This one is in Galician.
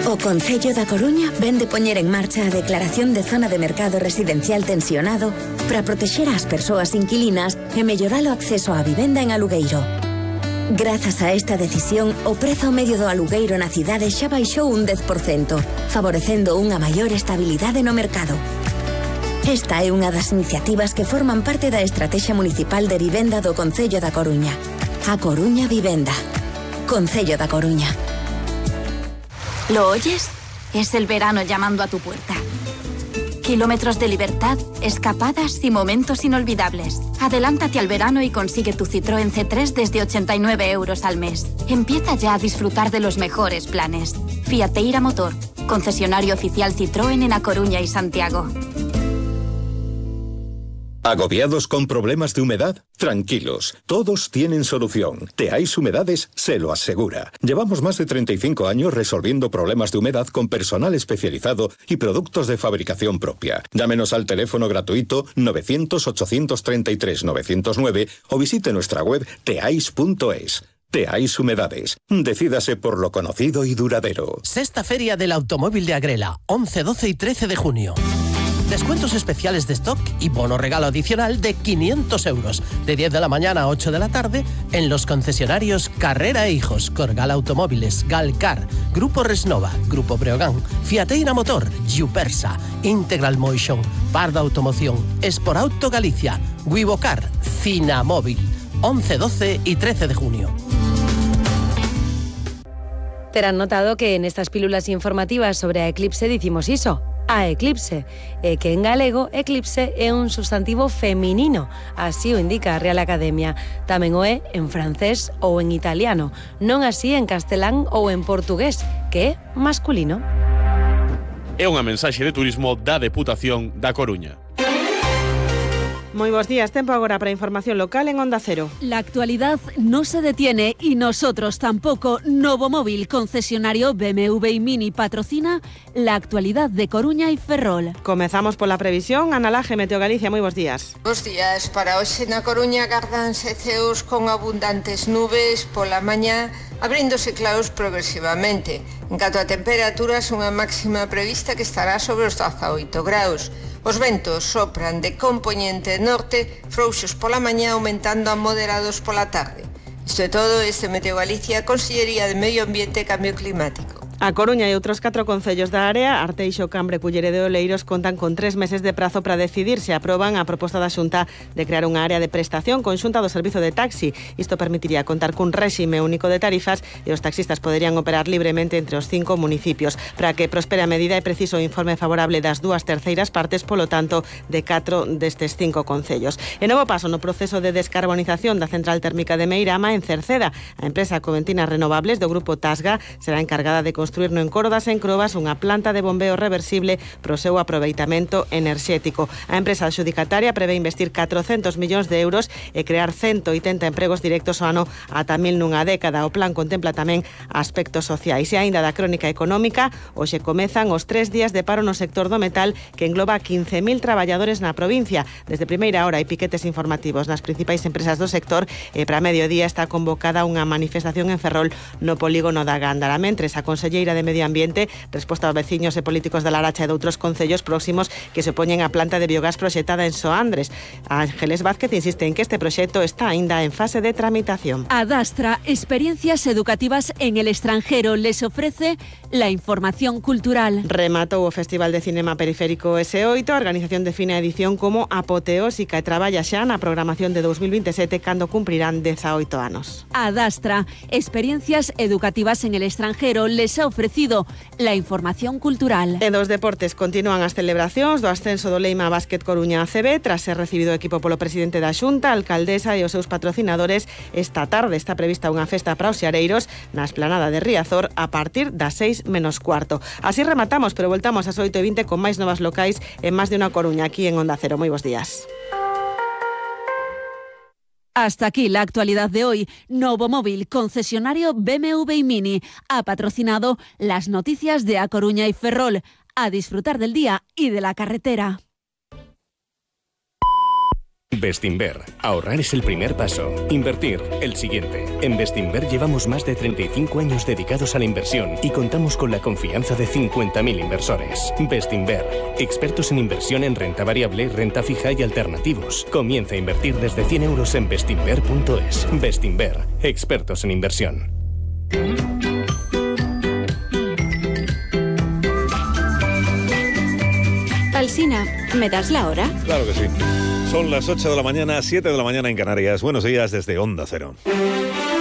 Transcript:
O Concello da Coruña vén de poñer en marcha a declaración de zona de mercado residencial tensionado para protexer ás persoas inquilinas e mellorar o acceso á vivenda en alugueiro. Grazas a esta decisión, o prezo medio do alugueiro na cidade xa baixou un 10%, favorecendo unha maior estabilidade no mercado. Esta é unha das iniciativas que forman parte da Estrategia Municipal de Vivenda do Concello da Coruña. A Coruña Vivenda. Concello da Coruña. ¿Lo oyes? Es el verano llamando a tu puerta. Kilómetros de libertad, escapadas y momentos inolvidables. Adelántate al verano y consigue tu Citroën C3 desde 89 € al mes. Empieza ya a disfrutar de los mejores planes. Fiateira Motor, concesionario oficial Citroën en A Coruña y Santiago. ¿Agobiados con problemas de humedad? Tranquilos, todos tienen solución. Teais Humedades se lo asegura. Llevamos más de 35 años resolviendo problemas de humedad con personal especializado y productos de fabricación propia. Llámenos al teléfono gratuito 900-833-909 o visite nuestra web teais.es. Teais Humedades. Decídase por lo conocido y duradero. Sexta Feria del Automóvil de Agrela, 11, 12 y 13 de junio. Descuentos especiales de stock y bono regalo adicional de 500 €, de 10 de la mañana a 8 de la tarde, en los concesionarios Carrera e Hijos, Corgal Automóviles, Galcar, Grupo Resnova, Grupo Breogán, Fiateira Motor, Jupersa, Integral Motion, Parda Automoción, Esporauto Galicia, Wivocar, Cinamóvil, 11, 12 y 13 de junio. Terán notado que en estas pílulas informativas sobre a eclipse dicimos iso, a eclipse, que en galego eclipse é un substantivo feminino, así o indica a Real Academia. Tamén o é en francés ou en italiano, non así en castelán ou en portugués, que é masculino. É unha mensaxe de turismo da Deputación da Coruña. Muy buenos días, tiempo ahora para información local en Onda Cero. La actualidad no se detiene y nosotros tampoco. Novomóvil, concesionario BMW y Mini, patrocina la actualidad de Coruña y Ferrol. Comezamos por la previsión. Ana Laje, Meteo Galicia, muy buenos días. Buenos días. Para hoxe na Coruña gardanse ceos con abundantes nubes pola mañá, abríndose claros progresivamente. En canto a temperaturas, unha máxima prevista que estará sobre os 18 graus. Os ventos sopran de compoñente norte, frouxos pola mañá, aumentando a moderados pola tarde. Isto é todo, este Meteo Galicia, Consellería de Medio Ambiente e Cambio Climático. A Coruña e outros 4 concellos da área, Arteixo, Cambre, Culleredo e Oleiros, contan con 3 meses de prazo para decidir se aproban a proposta da Xunta de crear unha área de prestación conxunta do servizo de taxi. Isto permitiría contar cun réxime único de tarifas e os taxistas poderían operar libremente entre os 5 municipios. Para que prospere a medida é preciso o informe favorable das 2/3 partes, polo tanto, de 4 destes 5 concellos. E novo paso no proceso de descarbonización da central térmica de Meirama en Cerceda. A empresa Coventinas Renovables do grupo Tasga será encargada de construir no Encorodas en Crobas unha planta de bombeo reversible pro seu aproveitamento enerxético. A empresa adxudicataria prevé investir 400 millóns de euros e crear 180 empregos directos ao ano ata 1000 nunha década. O plan contempla tamén aspectos sociais. E aínda da crónica económica, hoxe comezan os 3 días de paro no sector do metal, que engloba 15.000 traballadores na provincia. Desde primeira hora hai piquetes informativos nas principais empresas do sector e para mediodía está convocada unha manifestación en Ferrol no polígono da Gándara. Mentres, a Conselleira de Medio Ambiente resposta aos veciños e políticos da Laracha e de outros concellos próximos que se opoñen á planta de biogás proxectada en Soandres. Ángeles Vázquez insiste en que este proxecto está aínda en fase de tramitación. Adastra, experiencias educativas en el extranjero, les ofrece la información cultural. Rematou o Festival de Cinema Periférico S8, a organización define a edición como apoteósica e traballa xa na programación de 2027 cando cumprirán 18 anos. Adastra, experiencias educativas en el extranjero, les ha ofrecido la información cultural. En dos deportes continúan as celebracións do ascenso do Leima Básquet Coruña ACB tras ser recibido o equipo polo presidente da Xunta, a alcaldesa e os seus patrocinadores. Esta tarde está prevista unha festa para os xareiros na esplanada de Riazor a partir das 6:15. Así rematamos, pero voltamos ás 8:20 con máis novas locais en Más de Una Coruña, aquí en Onda Cero. Moi bons días. Hasta aquí la actualidad de hoy. Novomóvil, concesionario BMW y Mini, ha patrocinado las noticias de A Coruña y Ferrol. A disfrutar del día y de la carretera. Bestinver. Ahorrar es el primer paso. Invertir, el siguiente. En Bestinver llevamos más de 35 años dedicados a la inversión y contamos con la confianza de 50.000 inversores. Bestinver. Expertos en inversión en renta variable, renta fija y alternativos. Comienza a invertir desde 100 euros en bestinver.es. Bestinver. Expertos en inversión. Alsina, ¿me das la hora? Claro que sí. Son las 8 de la mañana, 7 de la mañana en Canarias. Buenos días desde Onda Cero.